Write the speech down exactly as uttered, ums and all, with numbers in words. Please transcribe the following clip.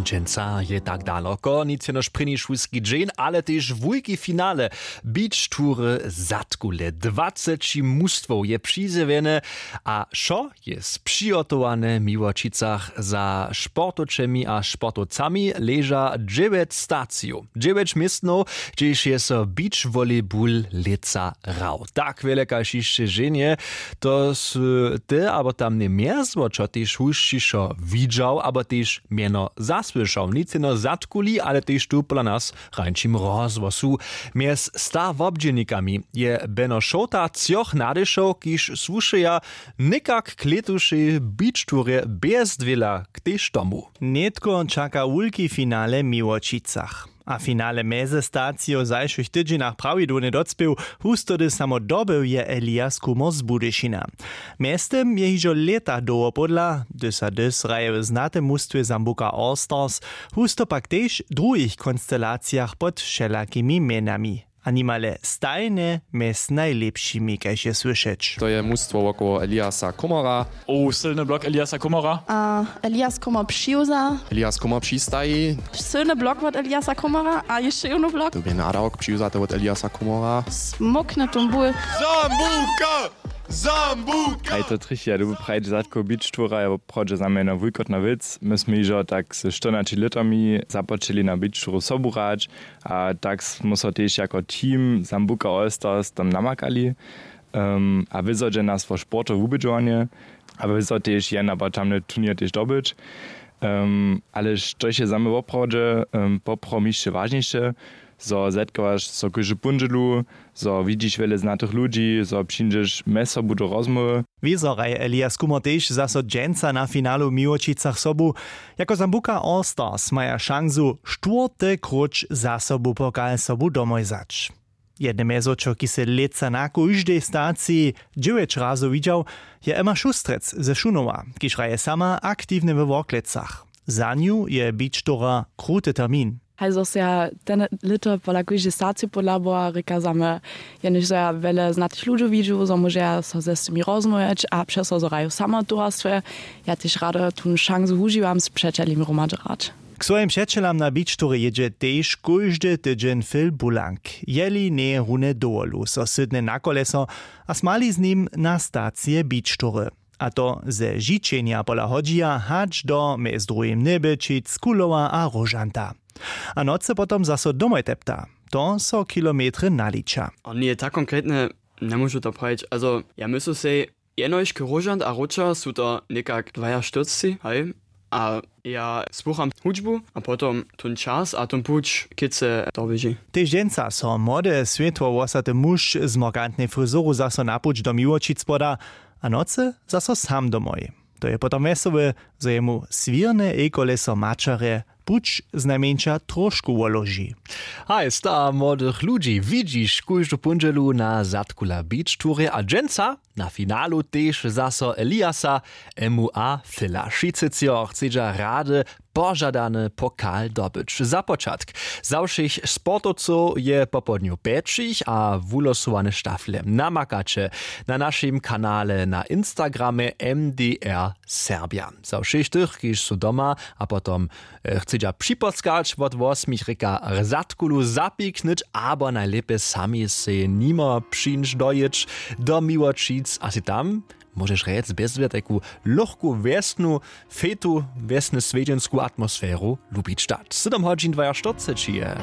Dźensa je tak daloko nic jenož prěni šulski dźeń, ale tež wulki finale. Beach tury zadkule dwaceći mustwow je přizjewjene. A wšo je přihotowane w Miłočicach. Za sportowčemi a sportowcami leža dźewjeć stacijow, dźewjeć městnow, hdźež je so beach volleyball lětsa hrał tak wjele kaž hišće ženje. To sy ty abo tam njemjezło čo tež hušćišo widźał abo tež mjeno zasłyšał nic jeno zadkuli ale tež tu pola nas w hrańčim rozhłosu. Mjez sta wobdźělnikami je beno šołta třoch nadešow kiž słušeja někak k lětušej beach turje bjez dwěla k tež tomu. Nětko čaka wulki finale w Miłočicach. A finale mjezestacijow w zašłych tydźenjach prawidłownje docpěł. Hustody samo dobył je Elias Kummer z Budyšina. Mjeztym je hižo lěta dołho pódla hdyž sa hdyž hraje w znatym mustwje Sambuca Allstars, husto pak tež w druhich konstelacijach pod wšelakimi mjenami. A nimale stajnje mjez najlěpšimi kaž je słyšeć. To je mustwo wokoło Eliasa Kummera. O, sylny blok Eliasa Kummera. A Elias Kummer přiwza. Elias Kummer přistaji. Sylny blok wot Eliasa Kummera a hišće jónu blok. To bě nadawk přiwzaty wot Eliasa Kummera. Smokny tom bul. Sambuca! Sambuca! Haj to trich ja dubu prajć zadko bić tura je woprawdźe za mjeno wujkotna wěc my smy hižo tak ze štyrnaći lětami započeli na bić turu sobu hrać. A tak smy so tež jako team Sambuca Allstars tam namakali. A wězo dźe nas wo sportowe wubědźowanje, a wězo tež jen abo tamny turněr tež dobyć. Ale štož je za mnje woprawdźe poprawom hišće wažniše, zo zetkowaš so kóždu póndźelu, zo widźiš wjele znatych ludźi, zo přińdźeš mjez sobu do rozmołwy. Wězo hraje Elias Kummer tež zaso dźensa na finalu w Miłočicach sobu. Jako Sambuca Allstars maja šansu štwórty króć za sobu pokal sobu domoj wzać. Jedne mjezwočo kiž sej lětsa na kóždej staciji dźewjeć razow widźał, je Emma Šustrec ze Šunowa, kiž hraje sama aktiwnje we Worklecach. Za nju je bić tora kruty termin. Haj zo sej ja ten lěto pola kóždej staciju podlabowa rěka za mnje, jenož zo ja wjele znatych ludźow widźu zo móžeja so z tymi rozmołwjeć a přez to zo hraju samo w towarstwje. Ja tež rady tón šansu wužiwam z přećelimi hromady hrać. K swojim přećelam na bić tury jědźe tež kóždy tydźeń phil bulank. Jeli njeje runje dowolu so sydne na koleso a smali z nim na stacije bić tury. A to ze žičenja pola hodźija hač do mjez druhim njebelčic kulowa a róžanta. A nocy potom zaso domoj tepta. To so kilometry naliča. A njeje tak konkretne, njemóžu to prajić. Azo ja myslu sej, jenož k róžant a róča su to někak dwajaštyrcci haj. A ja słucham hudźbu a potom tón čas a tón puć kětce doběži. Tež dźensa so młode swětłowłosaty muž z morgantnej frizoru zaso na puć do miłočic poda. A nocy zaso sam domoj. To je potom wjesołe, zo jemu swěrne ejkoleso maćerje puć znajmjeńša tróšku woloži. Haj sta młodych ludźi widźiš kóždu póndźelu na zadkula beach turje a dźensa na finalu tež zaso eliasa, emu a fila wšitcy třo chcedźa rady požadany pokal dobyć za počatk. Za wšěch sportowcow je popołdnju pjećich a wulosowane štafle namakaće na našim kanale na instagramje mdr serbja. Za wšěch tych kiž su doma a potom chcedźa připodskać wot wosmich rěka, zadkulu zapiknyć abo najlěpje sami sej nimo přińć dojěć do miłočic a sej tam móžeš rjec bjez wje tajku lochku wjesnu, fejtu wjesny swjedźensku atmosferu lubić dać sydom hodźin dwajaštyrceći je.